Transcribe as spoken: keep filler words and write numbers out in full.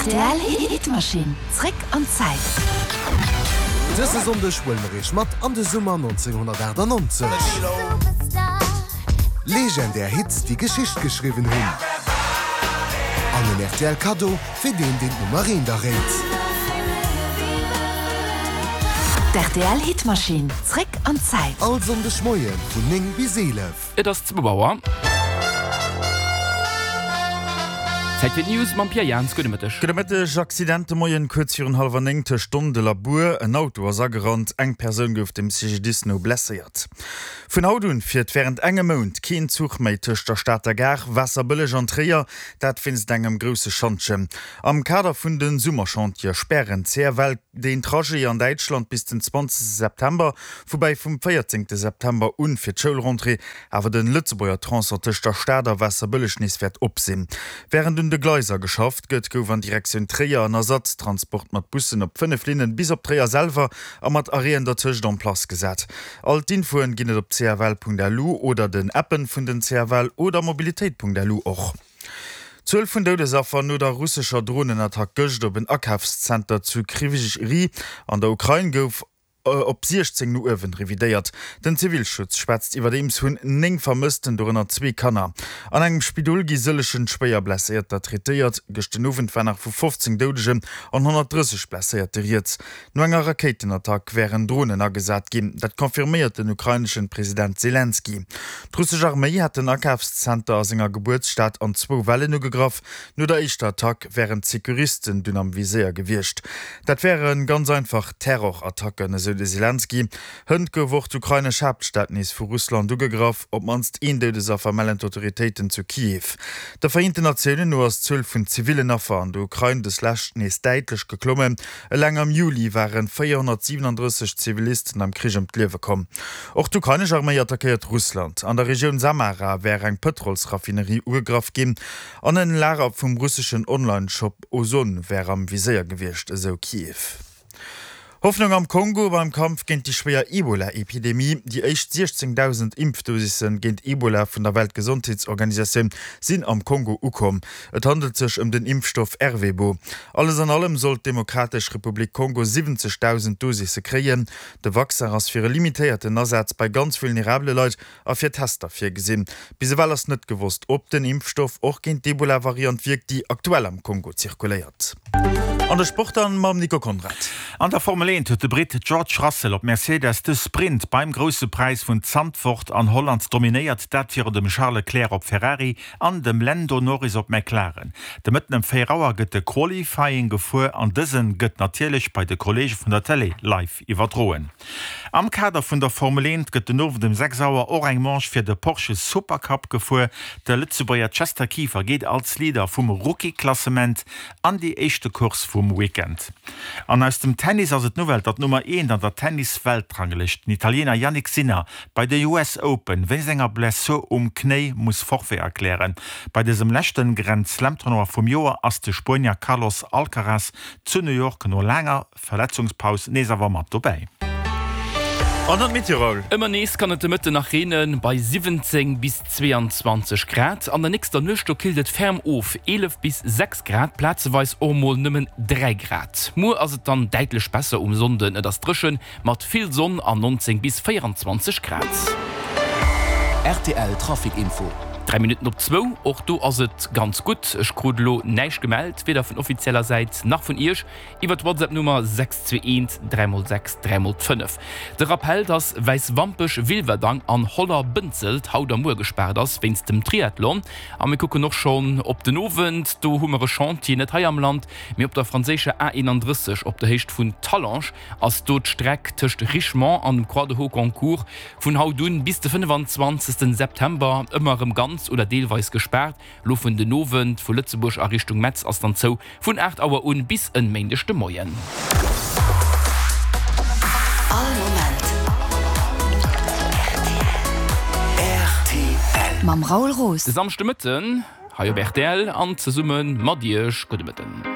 Rtl Hitmaschinn, zréck an d'Zäit. Dëse Sonndeg huele mer iech mat an de Summer nonzénghonnertaachtanonzeg. Legendär Hits, déi Geschicht geschriwwen hunn. An en rtl Kaddo fir deen, deen d'Nummer eent erréit. D'RTL Hitmaschinn, zréck an d'Zäit. All Sonndeg Moie vun néng bis eelef. Et ass zwou Auer. Zäit fir d'News mam Pierre Jans. Gudde Mëtteg. Gudde Mëtteg. Accident de Moien kuerz virun hallwer néng tëscht Dondel a Bur. En Auto ass agerannt, eng Persoun gouf dem C G D I S no blesséiert. Vun haut un fiert wärend engem Mount keen Zuch méi tëscht der Stater Gare, Waasserbëlleg an Tréier, dat wéinst engem grousse Schantjen. Am Kader vun de Summerchantiere spären d'C F L deen Trajet an Däitschland bis den zwanzegste September, woubäi vum véierzéngte September un fir d'Schoulrentrée awer de Lëtzebuerger Tronçon tëscht der Stad a Waasserbëlleg nees wäert op sinn. Wärend un de Gleiser geschafft gëtt, gouf an Direktioun Tréier en Ersatztransport mat Bussen op fënnef Linnen bis op Tréier selwer a mat Arrêten dertëscht en place gesat. All d'Infoen ginn et op C F L Punkt L U oder den Appen vun den C F L oder mobilitéit Punkt L U och. D'Zuel vun Doudesaffer no der russescher Dronenattack gëscht op en Akafszenter zu Krywyj Rih an der Ukrain gouf op siechzéng no uewen revidéiert. Den Zivilschutz schwätzt iwwerdeems vun néng Vermëssten, dorënner zwee Kanner. An engem Spidol gi sëllegen schwéier Blesséierter traitéiert. Gëscht den Owend war nach vu fofzéng Doudegen an honnertdrësseg Blesséierte rieds. No enger Rakéitenattack wären Dronen agesat ginn. Dat confirméiert den ukraineschen President Selenskyj. D'russesch Arméi hat den Akafszenter a senger Gebuertsstad an zwou Wellen ugegraff. No der éischter Attack wären d'Securisten dunn am Viséier gewiescht. Dat wäre ganz einfach Terrorattacken, esou de Selenskyj. Hënt gouf och d'ukrainesch Haaptstad nees vu Russland ugegraff. Op d'mannst een Doudesaffer mellen d'Autoritéiten zu Kiew. De Vereenten Natiounen no ass d'Zuel vun zivillen Affer an der Ukrain dës Lescht nees däitlech geklommen. Eleng am Juli ware véierhonnertsiwenandrësseg Zivilisten am Krich ëm d'Liewe komm. Och d'ukrainesch Arméi attackéiert Russland. An der Regioun Samara wär eng Pëtrolsraffinerie ugegraff ginn an en Lager vum russeschen Online-Shop Ozon wär am Viséier gewiescht, esou Kiew. Hoffnung am Kongo beim Kampf géint déi schwéier Ebola-Epidemie. Déi éischt siechzéngdausend Impfdosisse géint Ebola vun der Weltgesondheetsorganisatioun sinn am Kongo ukomm. Et handelt sech ëm den Impfstoff Ervebo. Alles an allem soll d'Demokratesch Republik Kongo siwwenzegdausend Dosisse kréien. De Vaccin ass fir e limitéierten Asaz bei ganz vulnerabele Leit a fir Tester virgesinn. Bis ewell ass net gewosst, ob den Impfstoff och géint d'Ebola-Variant wierkt, déi aktuell am Kongo zirkuléiert. An de Sport dann mam Nico Conrad. An der Formel eent huet de Britt George Russell op Mercedes de Sprint beim Grousse Präis vun Zandvoort an Holland dominéiert, dat virun dem Charles Leclerc op Ferrari an dem Lando Norris op McLaren. De Mëtten ëm véier Auer gëtt de Qualifying gefuer an dësen gëtt natierlech bei de Kolleege vun der Télé live iwwerdroen. Am Kader vun der Formel eent gëtt den Owend um sechs Auer och eng Manche fir de Porsche Supercup gefuer. De Lëtzebuerger Chester Kieffer geet als Leader vum Rookie-Klassement an déi éischte Course vum Weekend. An aus dem Tennis ass et d'Nouvelle, datt d'Nummer eent an der Tennis-Weltranglëscht, den Italiener Jannik Sinner, bei de U S Open wéinst enger Blessur um Knéi muss Forfait erklären. Bei dësem leschte Grand-Slam-Tournoi vum Joer ass de Spuenier Carlos Alcaraz zu New York no laanger Verletzungspaus nees awer mat dobäi. An dann d'Meteo. Ëmmer nees kann et de Mëtten nach reenen, bei siwwenzéng bis zweeanzwanzeg Grad. An der nächster Nuecht do killt et ferm of, eelef bis sechs Grad, plazeweis och mol nëmmen dräi Grad. Muer ass et dann däitlech besser um Sonnden, et ass dréchen, mat vill Sonn an nonzéng bis véieranzwanzeg Grad. R T L Trafic Info. Dräi Minutten op zwou, och do ass et ganz gutt. Ech krut elo näischt gemellt, weder vun offizieller Säit nach vun Iech iwwer d'WhatsApp-Nummer sechs zwee eent dräi mol sechs dräi mol fënnef. De Rappell, dass Wäiswampech, Wilwerdang an Holler-Bënzelt haut a muer gespaart ass wéinst dem Triathlon. A mir kucken och schonn op den Owend, do hu mer e Chantier, net hei am Land, mee op der franséischer A eenandrësseg op der Héicht vun Talange ass do d'Streck tëscht Richemont an dem Croix de Hauconcourt vun haut un bis de fënnefenzwanzegsten September ëmmer erëm ganz oder deelweis gespaart. Lo vun den Owend vu Lëtzebuerg a Richtung Metz ass dann zou vun aacht Auer un bis en Méindeg de Moien. All Moment R T L mam Raoul Roos. De Samschdemëtten hei op R T L an zesumme mat Iech. Gudde Mëtten.